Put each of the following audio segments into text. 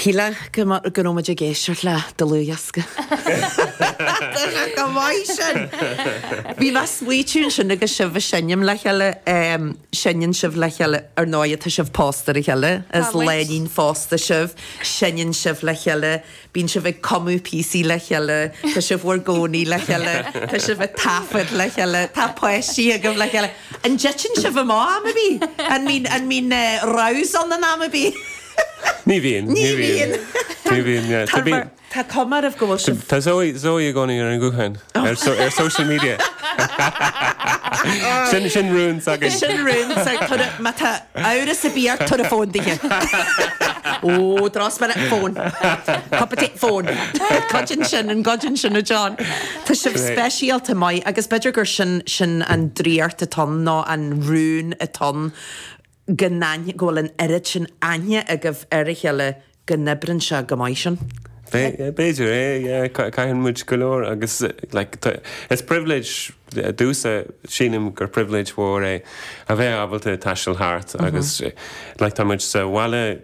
Shílfeá go go raibh muid ag éisteacht le dlúthdhiosca. Tá sé go maith sin! Bhí mé ag smaoitiú ansin agus sibh ag seinm le chéile, seinneann sibh le chéile, ar ndóigh tá sibh pósta ar a chéile, is lánúin phósta sibh, seinneann sibh le chéile, bíonn sibh ag cumadh píosaí le chéile, tá sibh bhur gcónaí le chéile, tá sibh ag taifead le chéile, tá páistí agaibh le chéile. An dtiteann sibh amach am ar bith? An mbíonn, an mbíonn rows ann in am ar bith? Ní bhíonn. Ní bhíonn. Ní bhíonn, yeah. Tá mar, tá cuma oraibh go bhfuil sibh. Tá Zoe, Zoe i gcónaí ar an ghuthán, ar so, ar social media. Sin, sin rún s'againn. Sin rún s'againn. Tabhair, má tá amhras ar bith ort, tabhair an fón dithe. Ó, drochspéire, fón. Cup of tea, fón. Goideann sin, an goideann sin, a John. Tá sibh speisialta maith agus b'fhéidir gur sin, sin an draíocht atá ann nó an rún atá ann go n-aithne, go bhfuil an oiread sin aithne agaibh ar a chéile go n-oibreann sé go maith sin. B'fhéidir é, yeah, caitheann muid go leor agus like is privilege domhsa, sílim gur privilege mhór é a bheith ábalta taisteal thart agus like tá muid sa bhaile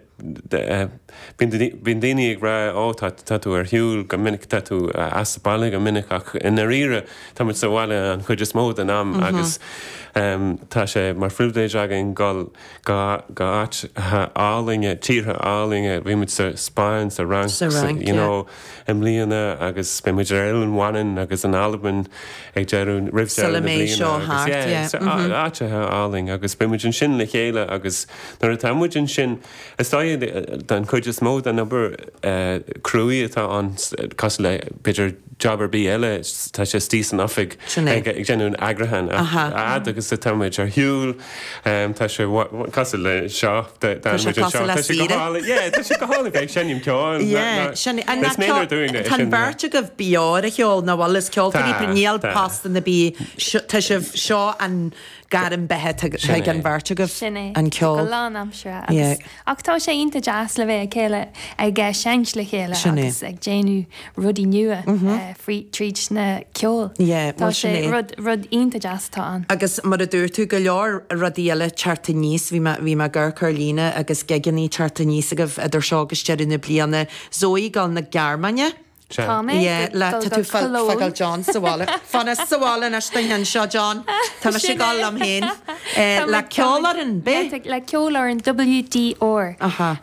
Bíonn daoine ag rá ó tá tá tú ar shiúl go minic, tá tú as baile go minic ach i ndáiríre tá muid sa bhaile an chuid is mó den am agus tá sé mar phribhléid againn dul go go áiteacha álainne, tíortha álainne, bhí muid sa Spáinn, sa Fhrainc, Sa Fhrainc, you know, i mbliana agus beidh muid ar Oileán Mhanann agus in Albain ag deireadh, roimh deireadh Sula na mbeidh bliana seo agus thart, yeah, yeah, mhm. áiteacha álainn agus beidh muid ansin le chéile agus Nuair atá muid ansin, is dóigh den chuid is mó den obair cruaidh atá ann, cosúil le b'fhéidir job ar bith eile, tá sé istigh san oifig ag déanamh an eagrúcháin ach a fhad agus atá muid ar shiúl, tá sé cosúil le seo, tá sé cosúil le saoire. Yeah, tá sé go hálainn bheith ag seinm ceoil. Yeah, sin é. Is méanar dúinn é sin. Tá an bheirt agaibh beo ar an cheol, nach bhfuil? Is ceoltóirí, níl postanna ar bith, tá sibh, seo an gairm beatha atá ag an bheirt agaibh, Sin é. an ceol. Go lánaimseartha agus ach tá sé iontach deas le bheith ag chéile ag seinnt le chéile Sin é. agus ag déanamh rudaí nua frí tríd na ceol. Yeah, Tá bhuel sin sé é. rud rud iontach deas atá ann. Agus mar a dúirt tú, go leor rudaí eile teacht aníos, bhí mé bhí mé ag amharc ar líne agus gigeannaí teacht aníos agaibh idir seo agus deireadh na bliana. Zoe ag dul na Gearmáine. Tá mé Yeah, ag le, dul tá go tú fá, Cologne. fágáil John sa bhaile. Fan sa bhaile anois don cheann seo, John. Tá mise ag dul liom féin. Tá Le muid, tá muid, ceolfhoireann, yeah, b'é? le ceolfhoireann WDR. Aha.